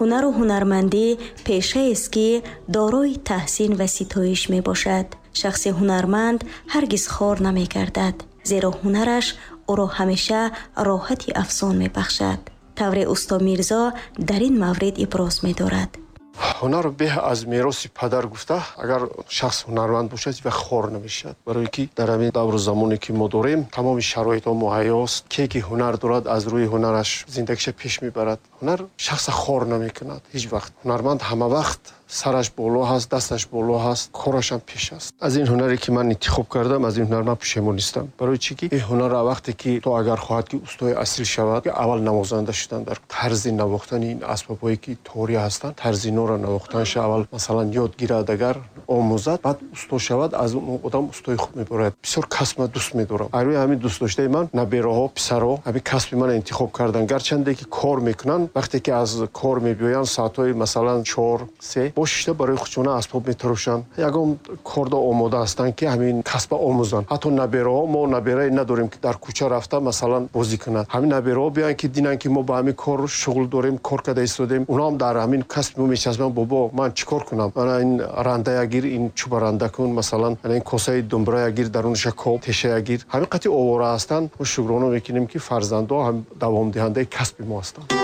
Ҳунару ҳунармандӣ пешаест, ки дорои таҳсин ва ситоиш мебошад. Шахси ҳунарманд ҳаргиз хор намегардад, зеро ҳунараш ӯро ҳамеша роҳати афзун мебахшад. Тавре усто Мирзо дар ин маврид иброз медорад. Ҳунар беҳ аз мероси падар гуфта, агар шахс ҳунарманд бошад, ва хор намешавад. Барое ки дар ҳамин давру замоне ки мо дорем, тамоми шароитҳо муҳайёст. Ке ки ҳунар дорад, аз рӯи ҳунараш зиндагиша пеш мебарад. Ҳунар шахса хор намекунад ҳеҷ вақт. Ҳунарманд ҳама вақт сараш боло ҳаст, дасташ боло ҳаст, корашам пеш аст. Аз ин ҳунаре ки ман интихоб кардам, аз ин ҳунар ман пушаймон нестам. Барои чӣ ки ин ҳунарро вақте ки то агар хоҳад ки устои асил шавад, аввал навозанда шудан дар тарзи навохтани ин асбобҳое ки торӣ ҳастанд, тарзи инҳоро навохтанша аввал масалан ёд гирад, агар омӯзад, баъд усто шавад, аз он одам устои хуб мебарояд. Бисёр касб ман дӯст медорам. Аз рӯи ҳамин дӯст доштаи ман набераҳо, писарҳо ҳамин касби манро интихоб карданд. Гарчанде ки кор мекунанд, вақте ки аз кор мебиёянд, соатҳои масалан 4-3 бо шишта барои худшона асбоб метарошанд. Ягон кордо омода ҳастанд ки ҳамин касба омӯзанд. Ҳатто набераҳо, мо наберае надорем ки дар кӯча рафта масалан бозӣ кунад. Ҳамин набераҳо биёянд ки динанд ки мо ба ҳамин кор шуғл дорем, кор карда истодем. Онҳо ҳам дар ҳамин касби мо мечаспанд. Бобо, ман чӣ кор кунам? Мана ин рандая гир, ин чӯба ранда кун, масалан, ана ин косаи думбирая гир, дарунша коб, тешая гир. Ҳамин қати овора ҳастанд. Мо шукрона мекунем ки фарзандҳо ҳам давомдиҳандаи касби мо ҳастанд.